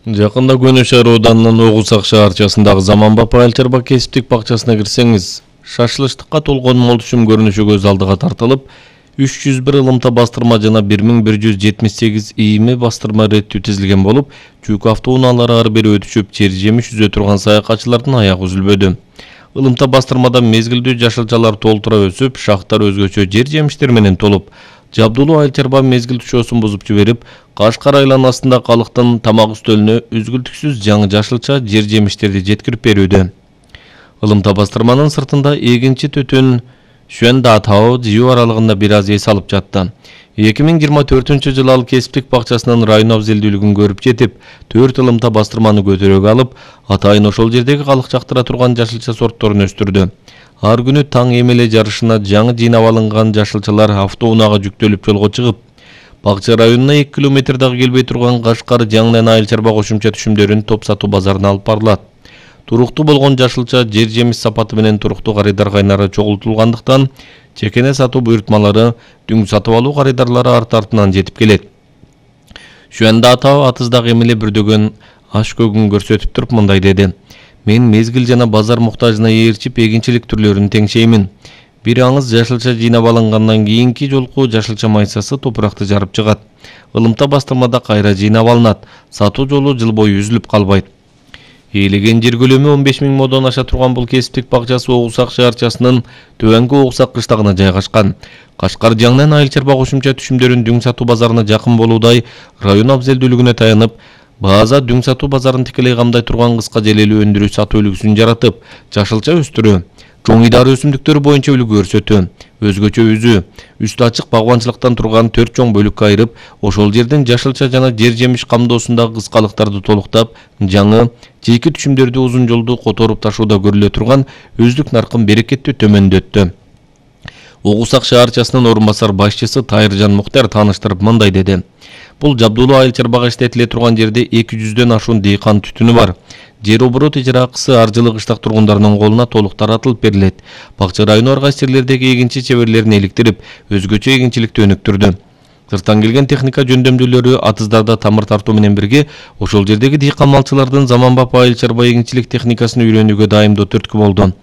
Жакында Көнө шаар ауданынын Огусак шаарчасындагы Заманбап Айыл-чарба кесиптик бакчасына кирсеңиз, шашылыштыкка толгон мол түшүм көрүнүшү көз алдыга тартылып, 301 ылымта бастырма жана 1178 ийме бастырма реттүү тизилген болуп, жүк автоунаалары ары бери өтүшүп, жер жемиш үзө турган саякатчылардын аягы үзүлбөдү. Ылымта бастырмада мезгилдүү жашылчалар толтура өсүп, шахтар өзгөчө жер жемиштер менен толуп, Жабдулуу Айыл-чарба мезгил түшөсүн бузуп жиберип, Кашкар айланасында калктын тамак үстөлүнө үзгүлтүксүз жаңы жашылча жер жемиштерди жеткирип берүүдө. Ылымта бастырманын сыртында эгинчи төтөн Шуэндатао жыйуу аралыгында бир аз эс алып жатты. 2024-жылы ал кесиптик бакчасынын район абзелдүүлүгүн көрүп жетип, 4 ылымта бастырманы көтөрөөгө алып, атайын ошол жердеги калк жактыра турган жашылча сортторун өстүрдү. Ар күнү таң эмеле жарышына жаңы жыйнап алынган жашылчалар автоунаага жүктөлүп жолго чыгып, бакча районуна 2 километр дагы келбей турган Кашкар жаңынан Айыл-чарба кошумча түшүмдөрүн топ сатуу базарына алып барылат. Туруктуу болгон жашылча жер жемиш сапаты менен туруктуу карыдар кайнары чогултулгандыктан, чекене сатуу буйртмалары, дүң сатып алуу карыдарлары арты-артынан жетип келет. Шуэндатао атыздагы эмеле бүрдөгөн аш көгүн көрсөтүп туруп мындай деди: "Мен мезгил жана базар муктажына ээрчип эгинчилик түрлөрүн теңшеймин. Бир аңыз жашылча жыйнап алынгандан кийинки жолку жашылча майсасы топуракты жарып чыгат. Ылымта бастырмада кайра жыйнап алынат. Сатуу жолу жыл бою үзүлүп калбайт." Ээлеген жер көлөмү 15.000 модон аша турган бул кесиптик бакчасы Огусак шаарчасынын Төбөңкү Огусак кыштагына жайгашкан. Кашкар жаңынан Айыл-чарба кошумча түшүмдөрүн дүң сатуу базарына жакын болуудай район абзелдүүлүгүнө таянып, база дүң сатуу базарын тикелей камдай турган кыска желелүү өндүрүү сатуу үлгүсүн жаратып, жашылча өстүрүү, чоң идары өсүмдүктөрү боюнча үлгү көрсөтүү, өзгөчө үзүү, үстү ачык багбанчылыктан турган 4 чоң бөлүккө айырып, ошол жерден жашылча жана жер жемиш камдоосундагы кыскалыктарды толуктап, жаңы, жеке түшүмдөрдү узун жолду которуп ташууда көрүлө турган өздүк наркын берекеттүү төмөндөттү. Огусак шаарчасынын орун басар башчысы Тайыржан Муктар тааныштырып мындай деди: "Бул Жабдулуу Айыл-чарбага иштетиле турган жерде 200дөн ашуун дыйкан түтүнү бар. Жер оборот ижара акысы ар жылы кыштак тургундарынын колуна толук таратылып берилет. Бакча району ар кайсы жерлердеги эгинчи чеберлерин эликтирип, өзгөчө эгинчиликти өнүктүрдү. Сырттан келген техника жөндөмдүүлөрү атыздарда тамыр тартуу менен бирге ошол жердеги дыйкан малчылардын Заманбап Айыл-чарба эгинчилик техникасын үйрөнүүгө дайымдоо түрткү болду.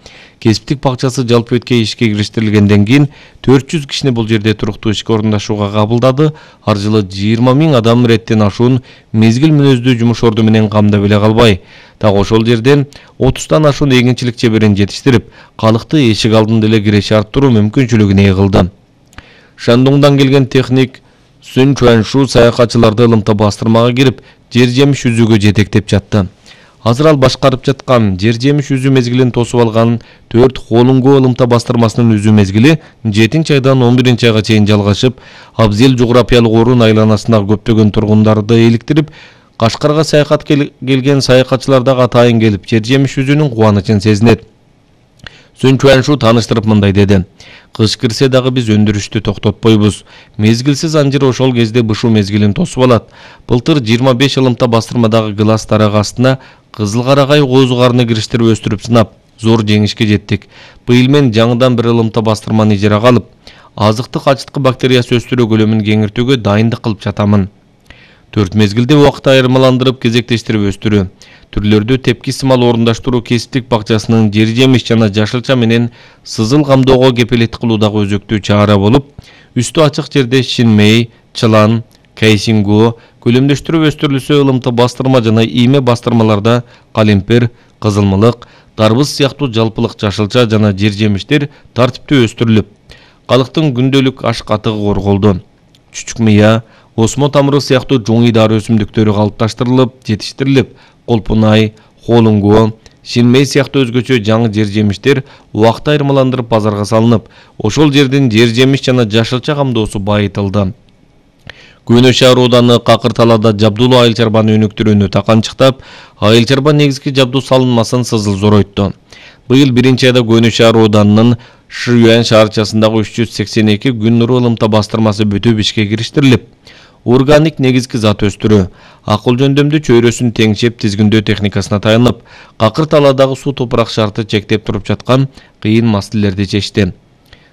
Кесиптик бакчасы жалпы өткө ишке кириштирилгенден кийин 400 кишини бул жерде туруктуу ишке орундашууга кабылдады. Ар жылы 20.000 адам реттен ашуун мезгил мүнөздүү жумуш орду менен камдап эле калбай, так ошол жерден 30тан ашуун эгинчилик чеберин жетиштирип, калкты эшик алдында эле киреше арттыруу мүмкүнчүлүгүн ээ кылды. Шандуңдан келген техник Сүн Чуаншу саякатчыларды ылымта бастырмага кирип, жер жемиш үзүүгө жетектеп жатты. Азыр ал башкарып жаткан жер жемиш үзүү мезгилин тосуп алган 4 Холунгу ылымта бастырмасынын үзүү мезгили 7 айдан 11 айга чейин жалгашып, абзел жуграпиялык орун айланасындагы көптөгөн тургундарды эликтирип, Кашкарга саякат келген саякатчылар дагы атайын келип, жер жемиш үзүүнүн кубанычын сезинет. Сүн Чуаншу тааныштырып мындай деди: "Кыш кирсе дагы биз өндүрүштү токтотпойбуз. Мезгилсиз анжир ошол кезде бышуу мезгилин тосуп алат. Былтыр 25 ылымта бастырмадагы гылас дарак астына кызыл карагай коозугарыны кириштирип өстүрүп сынап, зор жеңишке жеттик. Быйыл мен жаңыдан бир ылымта бастырманы ижарага алып, азыктык ачыткы бактериясы өстүрүү көлөмүн кеңиртүүгө дайындык кылып жатамын. 4 мезгилде убакыт айырмаландырып кезектештирип өстүрүү, түрлөрдү тепки сымал орундаштыруу кесиптик бакчасынын жер жемиш жана жашылча менен сызыл камдоого кепилет кылуудагы өзөктүү чара болуп, үстү ачык жерде шинмей, чылан, кейсингу, көлөмдөштүрүп өстүрүлсө ылымта бастырма жана ийме бастырмаларда калемпер, кызылмылык, дарбыз сыяктуу жалпылык жашылча жана жер жемиштер тартиптүү өстүрүлүп, калктын күндөлүк аш катыгы корголду. Чүчүк мыя, осмо тамыры сыяктуу чоң идары өсүмдүктөрү калыпташтырылып, жетиштирилип, колпунай, холунгу, шинмей сыяктуу өзгөчө жаңы жер жемиштер убакыт айырмаландырып базарга салынып, ошол жердин жер жемиш жана жашылча камдоосу байытылды. Көнө шаар ауданы Какыр талаада Жабдулуу Айыл-чарбаны өнүктүрүүнү таканчыктап, Айыл-чарба негизги жабдуу салынмасын сызыл зоройтtu. Быйыл 1 айда Көнө шаар ауданынын Шүйөн шаарчасындагы 382 күн нуру ылымта бастырмасы бүтүп ишке кириштирилип, органик негизги зат өстүрүү, акыл жөндөмдүү чөйрөсүн теңшеп тизгиндөө техникасына таянып, Какыр талаадагы суу топурак шарты чектеп туруп жаткан кыйын маселелерди чечти.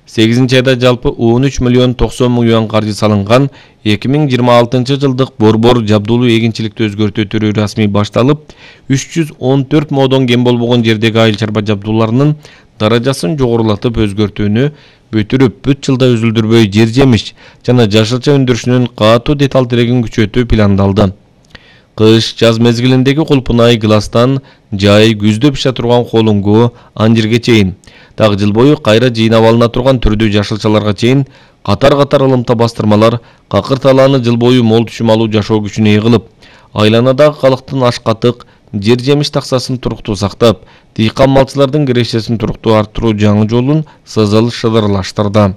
8-айда жалпы 13 миллион 90 мың юан каржы салынган. 2026 жылдык борбор жабдуулуу эгинчиликти өзгөртүү түрү расмий башталып, 314 модон кем болбогон жердеги айыл чарба жабдууларынын даражасын жогорулатып өзгөртүүнү бүтүрүп, бүт жылда үзүлдүрбөй жер жемиш жана жашылча өндүрүшүнүн катуу деталь тирегин күчөтүү пландалды. Кыш, жаз мезгилиндеги кулпунай гластан жай, күздө пиша турган колуңгу, анжирге чейин, дагы жыл бою кайра жыйнап алына турган түрдүү жашылчаларга чейин катар-катар ылымта бастырмалар какыр талааны жыл бою мол түшүм алуу жашоо күчүнө ээ кылып, айланадагы калктын аш-катык, жер жемиш таксасын туруктуу сактап, дыйкан малчылардын кирешесин туруктуу арттыруу жаңы жолун сызыл шыдырлаштырды.